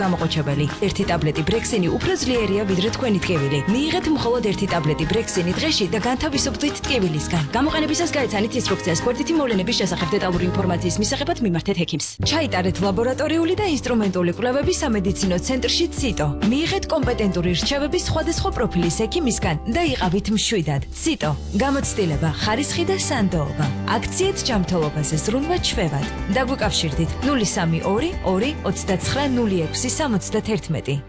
გამოყოჩებელი. ერთი ტაბლეტი ბრექსინი უფრო ძლიერია ვიდრე თქვენი ტკივილი. მიიღეთ მხოლოდ ერთი ტაბლეტი ბრექსინი დღეში და განთავისუფლდით ტკივილისგან. გამოყენებისას გაეცანით ინსტრუქციას გვერდითი მოვლენების შესახებ დეტალური ინფორმაციის მისაღებად მიმართეთ ექიმს. ჩაიტარეთ ლაბორატორიული და ინსტრუმენტული კვლევები სამედიცინო ცენტრში ციტო. მიიღეთ კომპეტენტური რჩევების სხვადასხვა პროფილის ექიმისგან და იყავით მშვიდად. ციტო. გამოცდილება, ხარისხი და სანდოობა. აქციეთ ჯანმრთელობაზე ზრუნვა ჩვევად. დაგვიკავშირდით 032 2 29 06 71.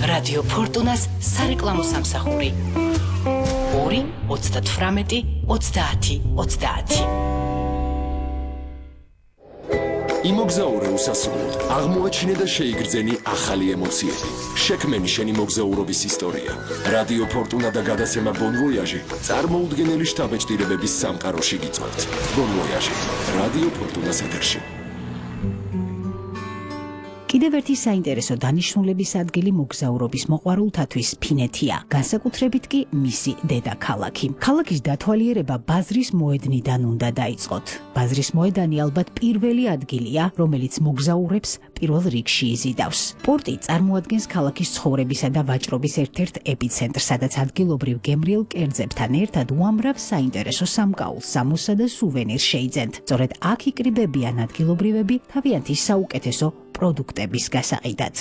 რადიო ფორტუნას სარეკლამო სამსახური 2 38 30 30. იმოგზაურე უსასრულოდ, აღმოაჩინე და შეიგრძენი ახალი ემოციები. შექმენი შენი მოგზაურობის ისტორია. რადიო ფორტუნა და გადაცემა Bon Voyage წარმოუდგენელი შთაბეჭდილებების სამყაროში გიწვევთ. Bon Voyage, რადიო ფორტუნას ეთერში. კიდევ ერთი საინტერესო დანიშნულების ადგილი მოგზაურობის მოყვარულთათვის ფინეთია, განსაკუთრებით კი მისი დედაქალაქი. ქალაქის დათვალიერება ბაზრის მოედნიდან უნდა დაიწყოთ. ბაზრის მოედანი ალბათ პირველი ადგილია, რომელიც მოგზაურებს პირველ რიგში იზიდავს. პორტი წარმოადგენს ქალაქის ცხოვრებისა და ვაჭრობის ერთ-ერთ ეპიცენტრს, სადაც ადგილობრივ გემრიელ კერძებთან ერთად უამრავ საინტერესო სამკაულს, სამოსა და სუვენირს შეიძენთ. სწორედ აქ იკრიბებიან ადგილობრივები თავიანთი საუკეთესო პროდუქტების გასაყიდად.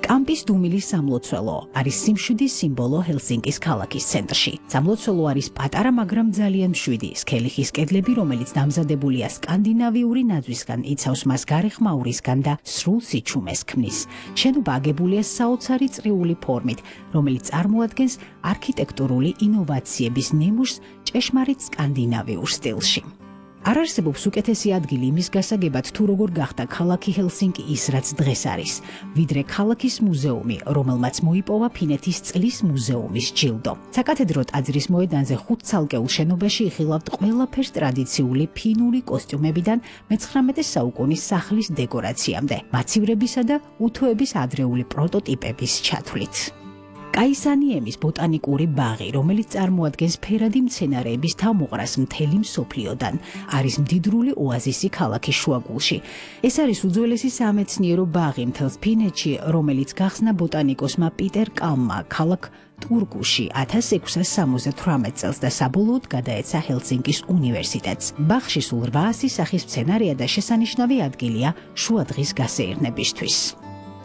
კამპის დუმილის სამლოცველო არის სიმშვიდის სიმბოლო ჰელსინკის ქალაქის ცენტრში. სამლოცველო არის პატარა, მაგრამ ძალიან მშვიდი სქელიხის კედლები, რომელიც დამზადებულია სკანდინავიური ნაძვისგან, იცავს მას გარეხმაურისგან და სრულ სიჩუმეს ქმნის. შენობა აგებულია საოცარი წრიული ფორმით, რომელიც წარმოადგენს არქიტექტურული ინოვაციების ნიმუშს ჭეშმარიტ სკანდინავიურ სტილში. არ არსებობს უკეთესი ადგილი იმის გასაგებად, თუ როგორ გახდა ქალაქი ჰელსინკი ის, რაც დღეს არის, ვიდრე ქალაქის მუზეუმი, რომელმაც მოიპოვა ფინეთის წყლის მუზეუმის ჯილდო. საკათედრო ტაძრის მოედანზე 5 ცალკეულ შენობაში იხილავთ ყველაფერს ტრადიციული ფინური კოსტიუმებიდან მე-19 საუკუნის სახლის დეკორაციამდე, მაცივრებისა და უთოების ადრეული პროტოტიპების ჩათვლით. კაისანიემის ბოტანიკური ბაღი, რომელიც წარმოადგენს ფერადი მცენარეების თავმოყრას მთელი მსოფლიოდან, არის მდიდრული ოაზისი ქალაქის შუაგულში. ეს არის უძველესი სამეცნიერო ბაღი მთელს ფინეთში, რომელიც გახსნა ბოტანიკოსმა პიტერ კალმმა ქალაქ ტურკუში 1678 წელს და საბოლოოდ გადაეცა ჰელსინკის უნივერსიტეტს. ბაღში სულ 800 სახის მცენარეა და შესანიშნავი ადგილია შუადღის გასეირნებისთვის.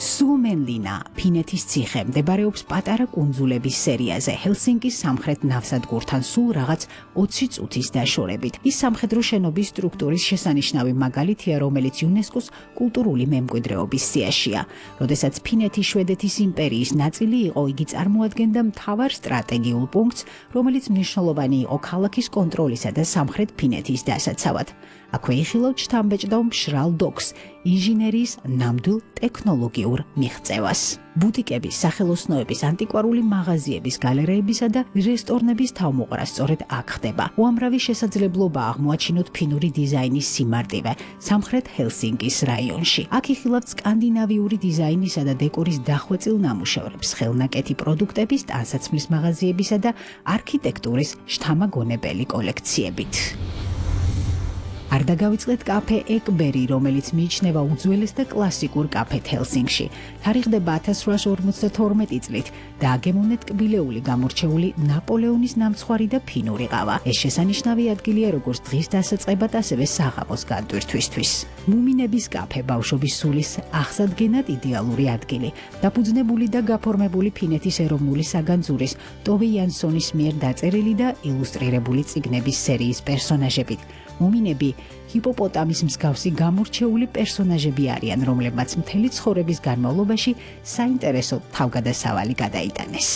სუომენლინა, ფინეთის ციხე, მდებარეობს პატარა კუნძულების სერიაზე, ჰელსინკის სამხრეთ ნავსადგურთან სულ რაღაც 20 წუთის დაშორებით. ის სამხედრო შენობის სტრუქტურის შესანიშნავი მაგალითია, რომელიც იუნესკოს კულტურული მემკვიდრეობის სიაშია. როდესაც ფინეთი შვედეთის იმპერიის ნაწილი იყო, იგი წარმოადგენდა მთავარ სტრატეგიულ პუნქტს, რომელიც მნიშვნელოვანი იყო ქალაქის კონტროლისა და სამხრეთ ფინეთის დასაცავად. აქვე იხილავთ შთამბეჭდავ მშრალ დოკს, ინჟინერიის ნამდვილ ტექნოლოგიურ მიღწევას. ბუტიკების, სახელოსნოების, ანტიკვარული მაღაზიების, გალერეებისა და რესტორნების თავმოყრა სწორედ აქ ხდება. უამრავი შესაძლებლობა აღმოაჩინოთ ფინური დიზაინის სიმარტივე სამხრეთ ჰელსინკის რაიონში. აქ იხილავთ სკანდინავიური დიზაინისა და დეკორის დახვეწილ ნამუშევრებს, ხელნაკეთი პროდუქტების, ტანსაცმლის მაღაზიებისა და არქიტექტურის შთამაგონებელი კოლექციებით. არ დაგავიწყდეთ კაფე ეკბერი, რომელიც მიიჩნევა უძველეს და კლასიკურ კაფეთ ჰელსინკში. თარიღდება 1852 წლით და აგემოვნეთ კბილეული გამორჩეული ნაპოლეონის ნამცხვარი და ფინური ყავა. ეს შესანიშნავი ადგილია როგორც დღის დასაწყებად, ასევე საღამოს განტვირთვისთვის. მუმინების კაფე ბავშვობის სულის აღსადგენად იდეალური ადგილი. დაფუძნებული და გაფორმებული ფინეთის ეროვნული საგანძურის ტოვე იანსონის მიერ დაწერილი და ილუსტრირებული წიგნების სერიის პერსონაჟებით. მუმინები ჰიპოპოტამის მსგავსი გამორჩეული პერსონაჟები არიან, რომლებმაც მთელი ცხოვრების განმავლობაში საინტერესო თავგადასავალი გადაიტანეს.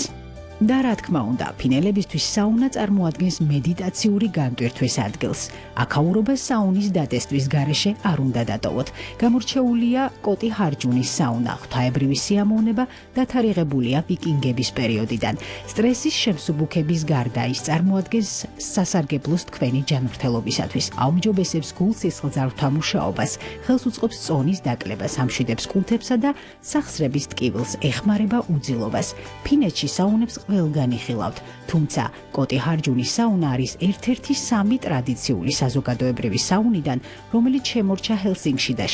და რა თქმა უნდა, ფინელებისთვის საუნა წარმოადგენს მედიტაციური განტვირთვის ადგილს. აქაურობა საუნის დატესტვის გარეშე არ უნდა დატოვოთ. გამორჩეულია კოტი ჰარჯუნის საუნა, ღვთაებრივი სიამოვნება დათარიღებულია ვიკინგების პერიოდიდან. სტრესის შემსუბუქების გარდა ის წარმოადგენს სასარგებლოს თქვენი ჯანმრთელობისათვის. აუმჯობესებს გულ-სისხლძარღვთა მუშაობას, ხელს უწყობს წონის დაკლებას, ამშვიდებს კუნთებსა და სახსრების ტკივილს, ეხმარება უძილობას. ფინეთში საუნებს ყველგან იხილავთ, თუმცა კოტი ჰარჯუნის საუნა არის ერთ-ერთი 3 ტრადიციული საზოგადოებრივი საუნიდან, რომელიც შემორჩა ჰელსინკში და